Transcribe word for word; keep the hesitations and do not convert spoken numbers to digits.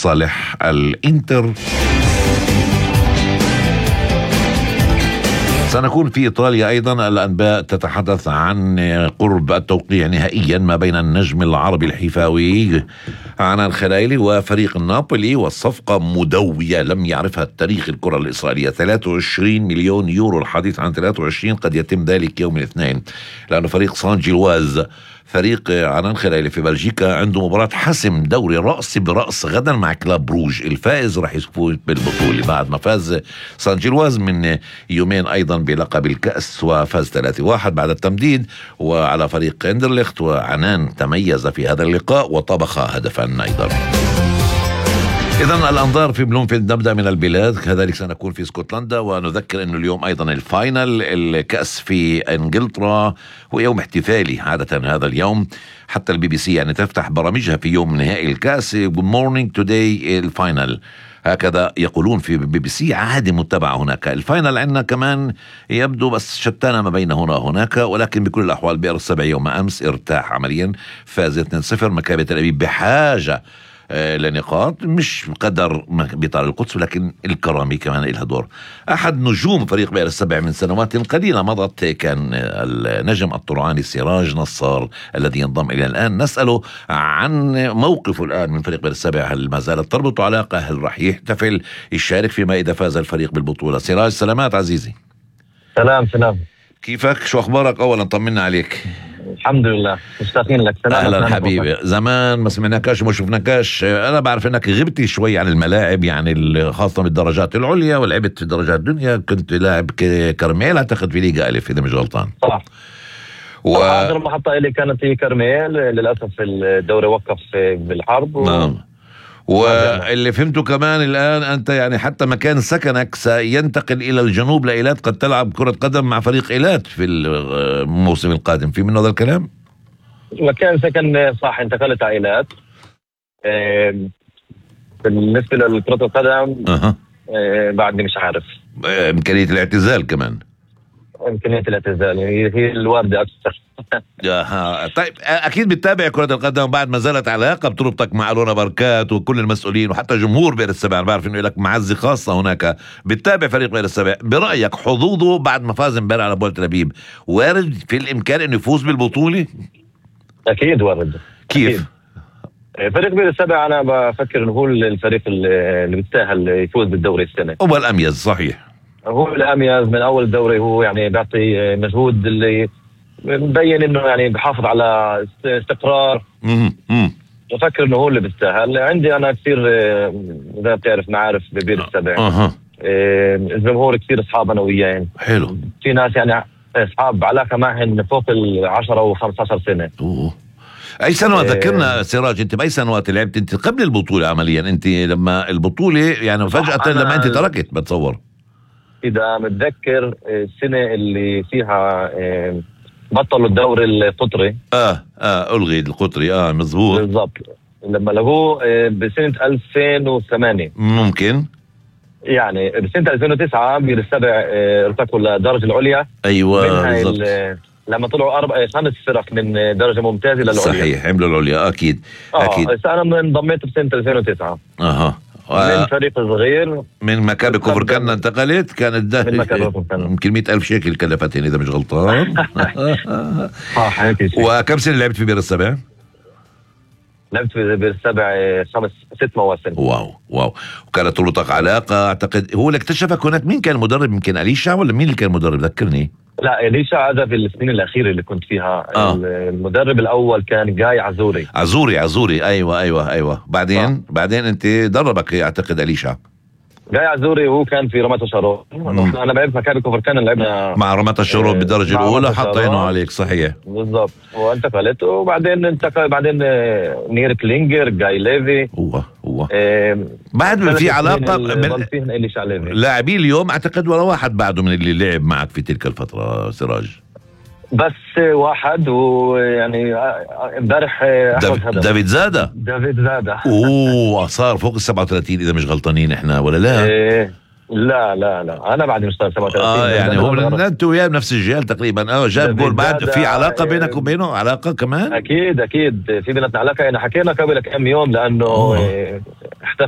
لصالح الإنتر. سنكون في إيطاليا أيضا. الأنباء تتحدث عن قرب التوقيع نهائيا ما بين النجم العربي الحيفاوي عنان خلايلي وفريق نابولي، والصفقة مدوية لم يعرفها التاريخ الكرة الإسرائيلية. ثلاثة وعشرين مليون يورو، الحديث عن ثلاثة وعشرين، قد يتم ذلك يوم الاثنين، لأن فريق سان جيلواز فريق عنان خلايلي في بلجيكا عنده مباراة حسم دوري رأس برأس غدا مع كلاب بروج. الفائز راح يفوز بالبطولة بعد ما فاز سان جيلواز من يومين أيضا بلقب الكأس وفاز ثلاثة واحد بعد التمديد وعلى فريق اندرليخت. وعنان تميز في هذا اللقاء وطبخ هدفا أيضا. إذن الأنظار في بلومفيلد. نبدأ من البلاد، كذلك سنكون في اسكتلندا، ونذكر أنه اليوم أيضا الفاينل الكأس في إنجلترا، هو يوم احتفالي عادة هذا اليوم، حتى البي بي سي يعني تفتح برامجها في يوم نهائي الكأس Good morning today الفاينل، هكذا يقولون في بي بي سي، عادي متبع هناك. الفاينل عندنا كمان يبدو بس شتان ما بين هنا وهناك، ولكن بكل الأحوال بئر السبع يوم أمس ارتاح عمليا، فاز اثنين صفر. مكابي تل أبيب بحاجة لنقاط، مش قدر بطار القدس، ولكن الكرامي كمان لها دور. أحد نجوم فريق بئر السبع من سنوات قليلة مضت كان النجم الطرعاني سراج نصار الذي ينضم إلى الآن. نسأله عن موقفه الآن من فريق بئر السبع، هل ما زالت تربط علاقة؟ هل راح يحتفل يشارك فيما إذا فاز الفريق بالبطولة؟ سراج، سلامات عزيزي. سلام سلام، كيفك؟ شو أخبارك؟ أولا طمنا عليك. الحمد لله، مشتاقين لك. اهلا حبيبي، زمان ما سمعناكش وما شفناكش. انا بعرف انك غبتي شوي عن الملاعب، يعني خاصه بالدرجات العليا، ولعبت في درجات الدنيا، كنت لاعب كرميل اعتقد في ليغا الف اذا مش غلطان. صح. و... اخر محطه لي كانت هي كرميل، للاسف الدوري وقف بالحرب و... نعم. واللي فهمته كمان الآن أنت يعني حتى مكان سكنك سينتقل إلى الجنوب لإيلات، قد تلعب كرة قدم مع فريق إيلات في الموسم القادم، في من هذا الكلام؟ مكان سكن صح، انتقلت على إيلات. بالنسبة لكرة القدم أه. بعدني مش عارف إمكانية الاعتزال كمان، إمكانية الاعتزال هي الواردة أكثر. آه. طيب أكيد بتتابع كرة القدم بعد ما زالت علاقة بتربطك مع ألونا بركات وكل المسؤولين وحتى جمهور بئر السبع. أنا بعرف إنه لك معزة خاصة هناك، بتتابع فريق بئر السبع. برأيك حظوظه بعد ما فاز امبارح على بول تل أبيب، وارد في الإمكان إنه يفوز بالبطولة؟ أكيد وارد. كيف؟ أكيد. فريق بئر السبع أنا بفكر إنه هو الفريق اللي بيستاهل يفوز بالدوري السنة، هو الأميز. صحيح، هو الأميز من أول الدوري، هو يعني بيعطي مجهود اللي مبين إنه يعني بحافظ على استقرار. امم بفكر إنه هو اللي بيستاهل. عندي أنا كثير إذا بتعرف معارف ببئر السبع، أه. الجمهور كثير أصحاب أنا وياه. حلو. في ناس يعني أصحاب علاقة معهن فوق العشرة وخمسة عشر سنة. أوه. أي سنوات ذكرنا سراج، أنت بأي سنوات لعبت أنت قبل البطولة عمليا؟ أنت لما البطولة يعني فجأة لما أنت تركت بتصور، إذا متذكر السنة اللي فيها بطلوا الدوري القطري. آه آه ألغي القطري. آه مزبوط بالضبط، لما لغوه بسنة ألفين وثمانية ممكن، يعني بسنة ألفين وتسعة بئر السبع ارتقوا للدرجة العليا. أيوة بالضبط، لما طلعوا أربع خمس فرق من درجة ممتازة للعليا. صحيح، عملوا العليا أكيد. آه أكيد. أنا انضميت بسنة ألفين وتسعة. أها. من فريق صغير من مكابي كفركان انتقلت، كانت ده يمكن مئة ألف شيكل كلفتني إذا مش غلطان. صح هيك شيء. وكم سنة لعبت في بئر السبع؟ لعبت في بئر السبع خمس ست مواسم. واو واو. وكانت تربطك علاقة أعتقد، هو اللي اكتشفك هناك. مين كان المدرب؟ يمكن أليشا ولا مين اللي كان المدرب؟ ذكرني. لا إليشا هذا في السنين الأخيرة اللي كنت فيها. آه. المدرب الأول كان جاي عزوري. عزوري عزوري أيوة أيوة أيوة. بعدين آه. بعدين أنت دربك أعتقد أليشا. جاي عزوري وهو كان في رمات الشروق. أنا لعبت مكابي كفركان، لعبنا مع رمات الشروق بالدرجة الأولى، حطينه عليك. صحيح بالضبط. وانتقلت وبعدين انتقل بعدين نير كلينجر، جاي ليفي. هو هو إيه بعد في علاقة من لاعبين اليوم أعتقد ولا واحد بعده من اللي لعب معك في تلك الفترة سراج؟ بس واحد، ويعني امبارح دافيد زادة. دافيد زادة اوه صار فوق ال سبعة وثلاثين اذا مش غلطانين احنا ولا لا؟ إيه لا لا لا انا بعد مش صار سبعة وثلاثين. اه يعني هو انت وياه بنفس الجيل تقريبا. اه جاب جول بعد. في علاقة بينك وبينه؟ علاقة كمان؟ اكيد اكيد في بيناتنا علاقة. انا حكينا قبل كم يوم لانه